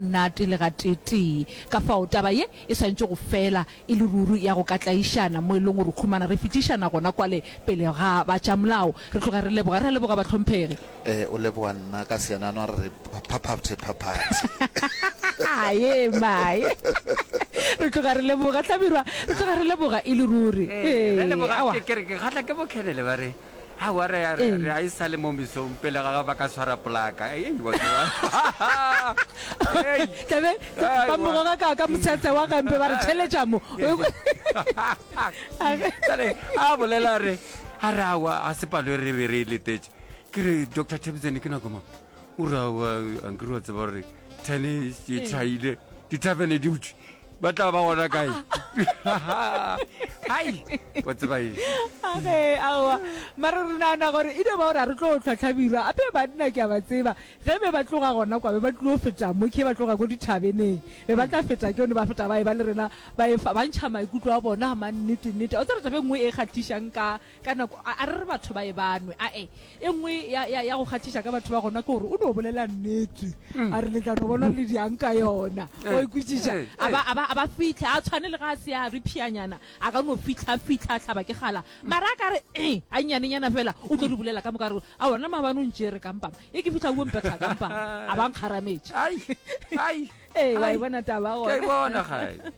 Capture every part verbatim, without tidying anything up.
Monate le gateetee. Ka fao, taba ye e swanetše go fela e le ruri ya go ka tlaišana mo e leng gore khumana re fetišana gona kwale pele ga ba tša molao. Re tloga re leboga. Re a leboga, bahlomphegi. Ee, o leboga nna ka seanano a re re phaphathe phaphathe. Aye mae. Re tloga re leboga, Hlabirwa. Re tloga re leboga e le ruri. Ee, re Ee, leboga. aowa. Ke, ke re ke kgahla ke boKhenele ba re Aowa, re a, re a e sa le mo mesong pele ga ba ka swara polaka. Ei, wa tseba. Ei. Tlabe ba mo goga ka, ka motshetshe wa gampe ba re tšheletša mo. Jale a bolela a re, a re aowa, a se palo e re be re e letetše. Ke re, Doctor Themsene, ke nako mang? O re aowa, ankere wa tseba gore ten e tšhaile, dithavene di butšwe. Ba tla ba gona kae? Hai, wa tseba eng? Age, aowa. Mara re nagana gore e no ba gore a re tlo hlwa Hlabirwa. Ape banna ke a ba tseba. Ge be ba tloga gona kwa, be ba tlilo feta mo, ke ba tloga ko dithabeneng. Be ba tla feta ke yone, ba feta ba eba le rena, ba efa, ba ntšha maikutlo a bona a mannete-nnete. O tseba taba e nngwe e kgahlišang ka, ka nako, a, a re re batho ba e ba nwe, ae. E nngwe ya, ya, ya go kgahliša ka batho ba gona ke gore o no bolela nnete. A re le tla no bona le diang ka yona. O e kwešiša? A ba, a ba, a ba fihla, a tshwane le ga a se a re phianyana, a ka no fihla, fihla, a hlaba ke kgala. Mara a ka re, eh, a nnyanenyana fela, o tlo di bolela ka moka, a re, Aowa, nna maabane o ntšere ka mpama. E ke fihla o mpetha ka mpama. A ba nkgarametše. Ai, ai, Ee, wa e ai. bona taba Ke a e gona. bona, gae.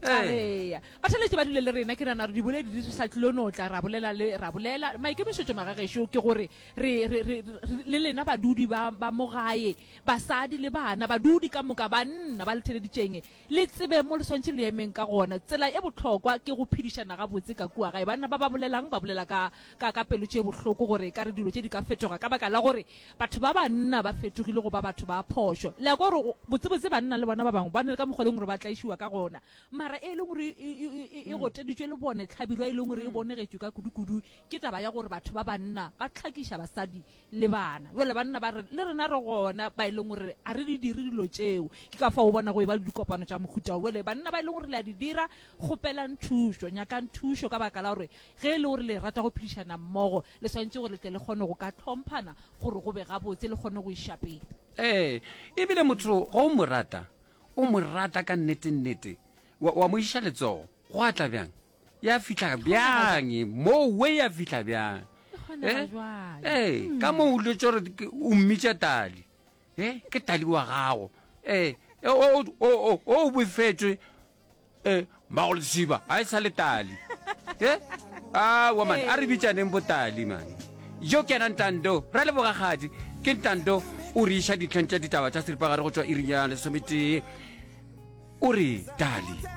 Ee. Batheeletši ba dule le rena, ke nagana gore diboledi di sa tlilo no tla ra bolela le ra bolela. Maikemišetšo magagešo ke gore re, re, re, re, le lena badudi ba, ba mo gae, basadi le bana, badudi ka moka, banna ba le theeleditšeng, le tsebe mo le swanetše le emeng ka gona. Tsela e bohlokwa ke go phedišana gabotse ka kua gae. Banna ba ba bolelang ba bolela ka, ka, ka pelo tše bohloko gore ekare dilo tše di ka fetoga ka baka la gore batho ba banna ba fetogile go ba batho ba phošo. Le a kwa gore botsebotse banna le bona ba bangwe ba na le ka mokgwa e leng gore ba tlaišiwa ka gona. Mara e leng gore e, e, e, e goteditšwe le bone, tlhabirwa e leng gore e bonegetšwe ka kudu-kudu ke taba ya gore batho ba banna ba hlakiša basadi le bana. Bjale banna ba re, le rena re gona ba e leng gore a re di dire dilo tšeo. Ke ka fao o bona go e ba le dikopano tša mohuta wo. Bjale banna ba e leng gore le a di dira, kgopelang thušo, nyakang thušo ka baka la gore ge e le gore le rata go phedišana mmogo, le swanetše gore le tle le kgone go ka hlomphana gore go be gabotse, le kgone go iša pele. Ee, e bile motho ge o mo rata, o mo rata ka nnete-nnete, wa, wa mo iša letsogo, go a tla bjang? Ya fihla bjang? Moo we ya fihla bjang? E Eh? Ee, ka moo o lwetše gore o mmitša Tali. Eh, ke Tali wa gago. Eh, o, o, o, o befetšwe. Eh, mmago lesiba, ga e sa le Tali. Eh? Aowa man, a re bitšaneng bo Tali man. Yo ke yena Ntando, ra leboga kgadi. Ke Ntando o re iša ditlheng tša ditaba tša seripagare go tšwa iring ya lesometee. O re Tali.